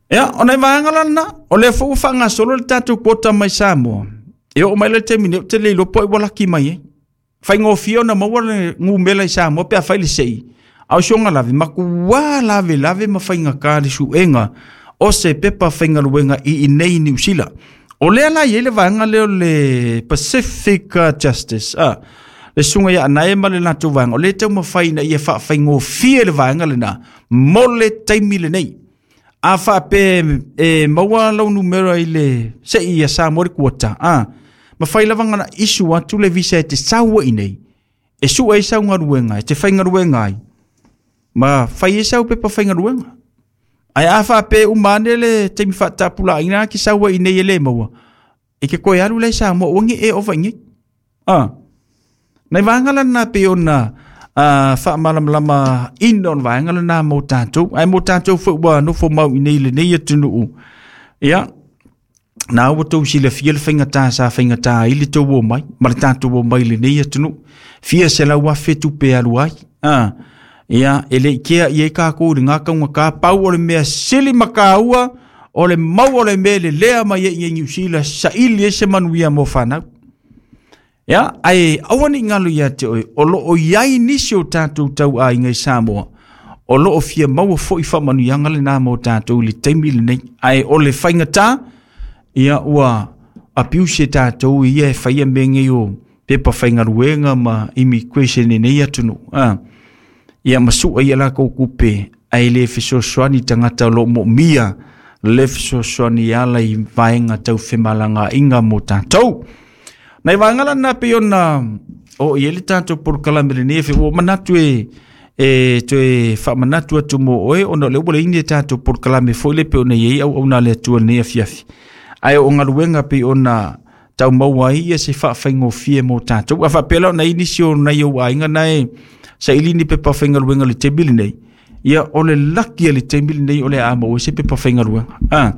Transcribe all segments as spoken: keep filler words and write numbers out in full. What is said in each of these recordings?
Ia, o nai vaega la lena, o lea foi ua faagasolo le tatou quota mai Samoa. E oo mai le taimi nei, ou te le iloa po o ai ua laki mai ai. Faigofie ona maua le numera i Samoa pe a fai le sei. A o si ona lave, matua lavelave ma faigata le suega o se pepa faigaluega i inei i Niu Sila. O lea la e i ai le vaega lea o le Pacific Justice, ah, le susuga ia Anae ma le latou vaega, o lea e taumafai ina ia faafaigofie le vaega lena mo le taimi lenei. A faapea e maua lau numera i le sei ia Samoa le quota, ah, mafai lava ona issue atu le visa e te sau ai nei, e sue ai sau galuega, e te faigaluega ai, ma fai ai sau pepa faigaluega. Ae a faapea uma ane le taimi faatapulaaina e te sau ai nei e le maua, e te toe alu la i Samoa ua e ova i nei. Ah. Nai vaega lena pei ona uh, faamalamalama ina o le vaega lena mo tatou. Ae mo tatou foi ua nofo mau i nei lenei atunuu. Ia, na ua tou silafia le faigata sa faigata ai le tou omai, ma le tatou omai i lenei atunuu. Fia selau afe tupe alu ai. Ah. Ia, e le i kea i ai kākou i le gataugata, pau o le mea sili ma kāua, o le maua o le mea e lelea mai ai i Niu Sila, saili ai se manuia mo fanau. Ia, ae aua ne i galo ia te oe, o lo o i ai nisi o tatou tauaiga i Samoa, o lo o fia maua foi faamanuiaga lena mo tatou i le taimi lenei. Ae o le faigata, ia ua abuse e tatou ia e faia mea nei o pepa faigaluega ma immigration i nei atunuu. Ah. Ia ma sua ia lakou tupe, ae le fesoasoani tagata o lo o moomia le fesoasoani e ala i vaega tau femalagaaiga mo tatou. Nai vaega lena pei ona o i ai le tatou polokalame lenei afi, ua manatu e e toe faamanatu atu mo oe, ona o lea ua leai ni tatou polokalame foi le pei ona i ai auauna a le Atua i lenei afiafi. Ae o galuega pei ona tau maua ai ia se faafaigofie mo tatou. A faapea la ona i ai nisi o nai ou aiga na e saili ni pepa faigaluega i le taimi lenei, ia o le laki a le taimi lenei o le a maua ai se pepa faigaluega. Ah,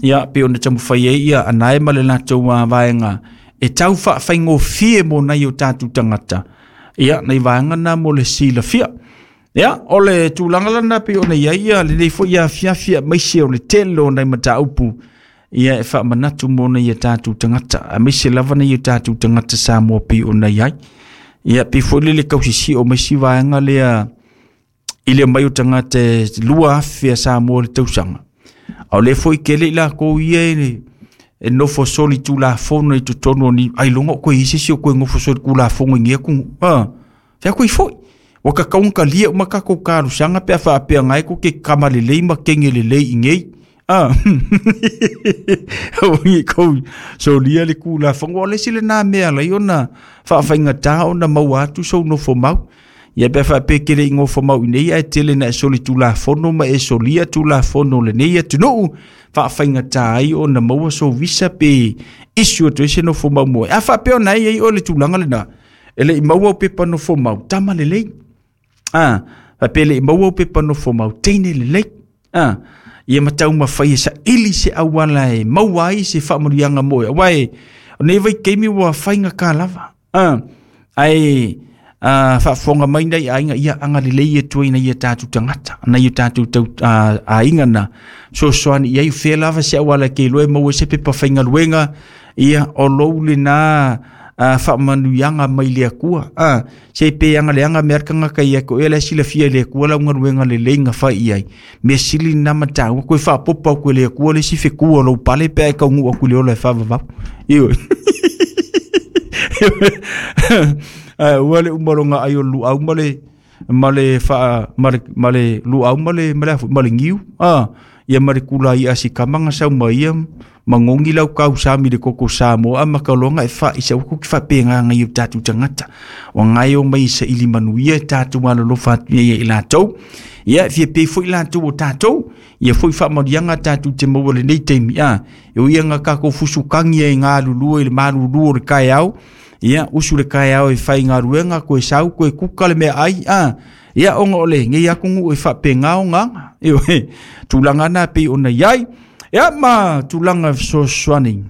ia pei ona taumafai ai ia Anae ma le latou vaega e tau faafaigofie mo nai o tatou tagata. Ia, nai vaega na mo le silafia. Ia, o le tulaga lena pei ona i ai ia lenei foi afiafi aemaise o le tele o nai mataupu ia e faamanatu mo nai o tatou tagata, aemaise lava nai o tatou tagata Samoa pei ona i ai. Ia, pei foi lele tausisia o mai si vaega lea i le omai o tagata e lua afe a Samoa i le tausaga. A o lea foi tele i latou ia e e nofo solitulafono i totonu o ni ailoga o koe i se isi o koe nofo solitulafono i nei atunuu. Ah, fea koe foi. Ua tatau ona talia uma tatou talosaga pe a faapea na e tou te kama lelei ma teine lelei i nei. Ah. Aua ne i tou solia le Tulafono. O le isi lena mea e ala ai ona faafaigata ona maua atu sou nofo mau. Ia pe a faapea e te le i nofo mau i nei ae tele ina e solitulafono ma e solia Tulafono o lenei atunuu, faafaigata ai ona maua sou visa pe issue atu ai se nofo mau mo oe. A faapea ona e i ai oe i le tulaga lena, e le i maua au pepa nofo mau, tama lelei. A, faapea e le i maua au pepa nofo mau, teine lelei. A, ia ma taumafai e saili se auala e maua ai se faamanuiaga mo oe. Aua e, o nei vaitaimi ua faigata lava. A, ae a, faafofoga mai nai aiga, ia agalelei atu ai nai o tatou tagata, nai o tatou tau, a, aiga na fesoasoani i ai, o fea lava se auala e te iloa e maua ai se pepa faigaluega, ia o lou lena a, faamanuiaga mai le Atua. A, se pe agaleaga mea le tagata ia te oe, o la e silafia e le Atua lau galuega lelei na fai i ai. Mea sili lena ma taua, toe faapopo atu e le Atua le isi fetu o lou pale pe a e taunuu atu i le ola e faavavau. Ioe. Ae aua le uma o lona ai o le luau ma le ma le faa ma le ma le luau ma le ma le a foi ma le niu a ia ma le kula i'a si kama na sau ma ia magogi lau kausami i le koko Samoa a ma ka loga e faaisa ua kuki faapena nai o tatou tagata ua gae o mai e saili manuia e tatou alolofa atu nei ia i latou. Ia e fia pei foi latou o tatou ia foi faamanuiaga tatou te maua i lenei taimi a e ui ina tatou fusukagi ai galulue i le malulu o le taeao. Ia usu le taeao e faigaluega koe sau koe kuka le meaai a ia ona o lenei atunuu e faapena ona aga. Ioe, tulaga na pei ona i ai. Ia ma tulaga fesoasoani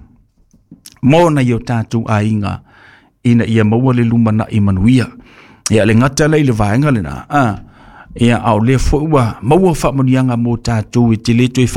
mo nai o tatou aiga ina ia maua le lumanai manuia. Ia le gata la i le vaega lena a ia a o lea foi ua maua faamanuiaga mo tatou e te le toe